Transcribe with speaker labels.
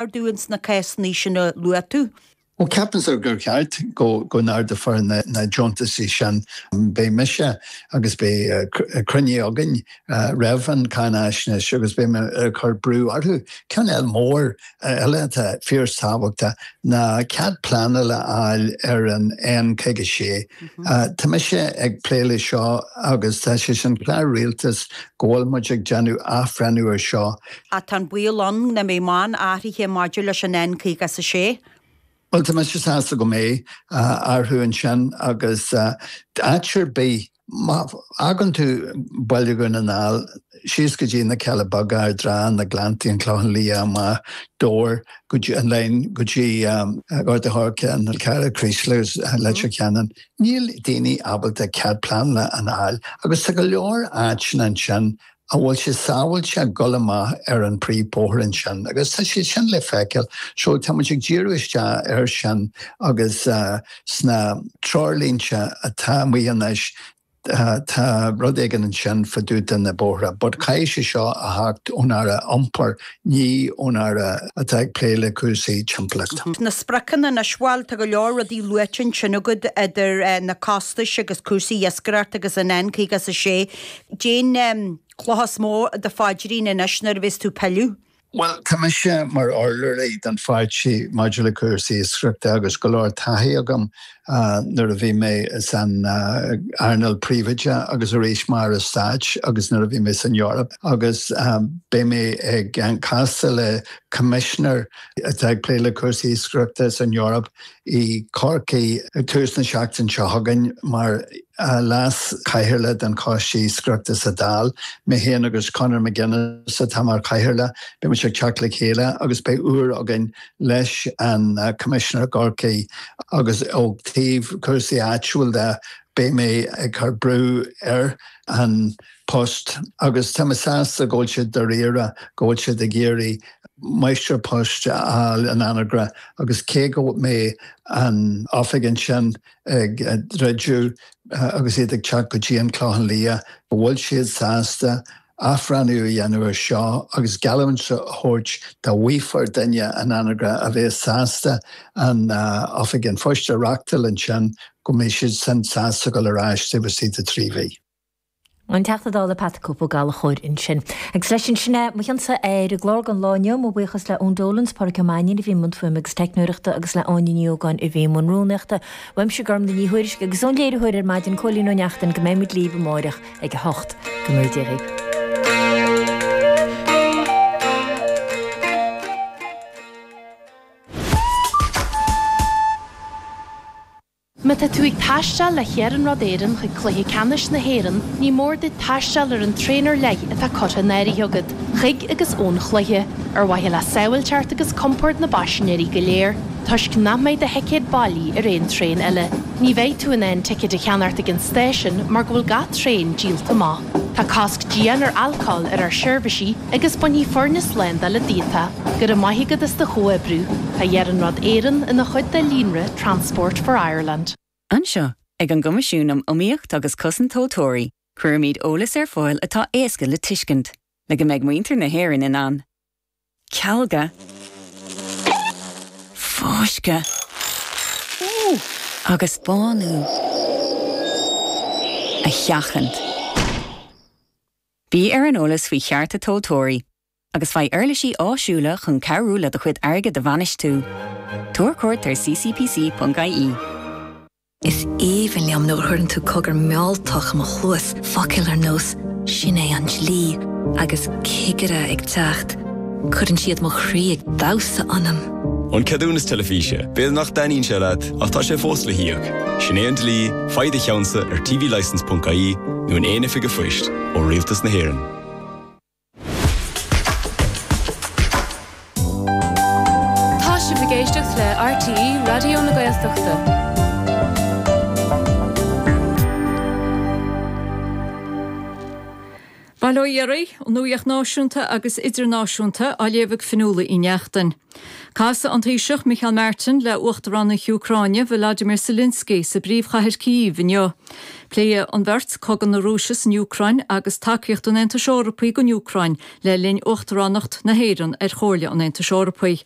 Speaker 1: Ardú ins na cásanna sin a luaigh tú.
Speaker 2: Bhuel, ceapaimse gur cheart go n-ardófar na deontaisí sin. Beidh mise agus beidh cruinniú againn roimh an cháinaisnéis agus beidh mé ag cur brú orthu. Ceann eile mór eile atá fíorthábhachtach ná cead pleanála a fháil ar an N56. Tá mise ag plé le seo agus tá sé san clár rialtais go bhfuil muid ag déanamh athbhreithniú ar seo.
Speaker 1: Ach tá an baol ann nach mbeidh mórán athraithe maidir leis an N56.
Speaker 2: Bhuel, tá mise sásta go mbeidh athrú ansin agus áit ar bith, má fhágann tú Baile Dhún na nGall síos go dtí na Cealla Beaga, Ard an Rátha, na Gleanntaí, an Clochán Liath, amach Dobhar, go dtí an Line, go dtí Gort a' Choirce, an Fhál Carrach, Creeslough agus Leitir Ceanainn, níl daoine ábalta cead pleanála a fháil agus tá go leor áiteanna ansin a bhfuil sé sábháilte dul amach ar an príomhbhóthar ansin agus tá sé sin le feiceáil. So tá muid ag díriú isteach air sin agus sna treoirlínte atá amuigh anois tá rud éigin ansin fá dtaobh de na bóithre but caithfidh sé seo a theacht ón Aire Iompair, ní ón Aire atá ag plé le cúrsaí timpeallachta.
Speaker 1: Na spriocanna anois, bhuel tá go leor rudaí luaite ansin agat idir na costais agus cúrsaí iascaireachta agus an N56. Cén chloch is mó do phaidrín anois nuair a bheas tú ag pilleadh?
Speaker 2: Bhuel, tá mise mar urlabhraí don pháirtí maidir le cúrsaí iascaireachta agus go leor taithí agam nuair a bhí mé san earnáil príobháideach agus arís mar Aire Stáit agus nuair a bhí mé san Eoraip agus beidh mé ag castáil le Commissioner atá ag plé le cúrsaí iascaireachta san Eoraip i gCorcaigh ag tús na seachtaine seo chugainn mar leas-chathaoirleach den Choiste Iascaireachta sa Dáil. Mé féin agus Conor McGuinness atá mar chathaoirleach. Beidh muid ag teacht le chéile agus beidh uair againn leis an Coimisinéir i gCorcaigh agus ó thaobh cúrsaí áitiúil de beidh mé ag cur brú ar An Post agus tá mé sásta go bhfuil siad dáiríre, go bhfuil siad ag iarraidh máistir poist a fháil in Anagaire agus cé go mbeidh an oifig ansin ag druidim agus iad ag teacht go dtí an Clochán Liath, go bhfuil siad sásta athbhreithniú a dhéanamh ar seo agus geallúint a thabhairt dá bhfaighfear duine in Anagaire a bheas sásta an oifig an phoist a reachtáil ansin go mbeidh siad sin sásta dul ar ais taobh istigh de thrí mhí.
Speaker 3: An Teachta Dála Pat 'The Cope' Ó Gallchóir ansin. Agus leis sin, sin é mo chionsa ar an gclár don lá inniu. Mo bhuíochas le Eoin Dolan 's Pádraic Ó Mainnín a bhí i mbun fuaime agus teicneoireachta agus le Áine Ní Ógáin a bhí i mbun rúnaíochta. Uaimse Gormlaith Ní Thuairisg agus ón léiritheoir ar maidin Cóilín Ó Neachtain go mbeidh muid libh amáireach ag a hocht. Go ngnóthaí Dia dhaoibh.
Speaker 4: Má tá tú ag taisteal le hIarnród Éireann chuig Cluiche Ceannais na hÉireann, ní mór duit taisteal ar an traein ar leith atá curtha in áirithe agat, chuig agus ón chluiche, ar mhaithe le sábháilteacht agus compord na bpaisinéirí go léir, toisc nach mbeidh do thicéad bailí ar aon traein eile. Ní bheidh tú in ann ticéid a cheannacht ag an stáisiún mar go bhfuil gach traein díolta amach. Tá cosc dian ar alcól ar ár seirbhísí agus bainfidh foirne slándála díot é. Go raibh maith agat as do chomhoibriú. Tá Iarnród Éireann ina chuid de líonra Transport for Ireland.
Speaker 5: Anseo, ag an gCoimisiún um Iomaíocht agus Cosaint Tomhaltóirí, cuirimid eolas ar fáil atá éasca le tuiscint, le go mbeidh muintir na hÉireann in ann cealga, fáisceadh agus bánú a sheachaint. Bí ar an eolas faoi chearta tomhaltóirí agus faigh uirlisí áisiúla chun cabhrú le do chuid airgid a bhainistiú. Tabhair cuairt ar ccpc.ie.
Speaker 6: Is aoibhinn liom nuair a chuireann tú cogar mealltach i mo chluas, focail ar nós 'sin é an dlí' agus 'cigire ag teacht'. Cuireann siad mo chroí ag damhsa ionam.
Speaker 7: An ceadúnas teilifíse, b'fhéidir nach dtaitníonn sé leat, ach tá sé fós le híoc. Sin é an dlí, faigh do cheannsa ar tvlicence.ie nó in aon oifig an phoist ó Rialtas na hÉireann.
Speaker 8: Tá sibh ag éisteacht le RTÉ Raidió na Gaeltachta. Bail ó Dhia oraibh, an nuacht náisiúnta agus idirnáisiúnta á léamh ag Fionnuala Uí Neachtain. Casfaidh an Taoiseach Micheál Martin le Uachtarán na hÚcráine Volodymyr Zelensky sa bpríomhchathair Kyiv inniu. Pléifidh an bheirt cogadh na Rúise san Úcráin agus tacaíocht an Aontais Eorpaigh don Úcráin le linn Uachtaránacht na hÉireann ar Chomhairle an Aontais Eorpaigh.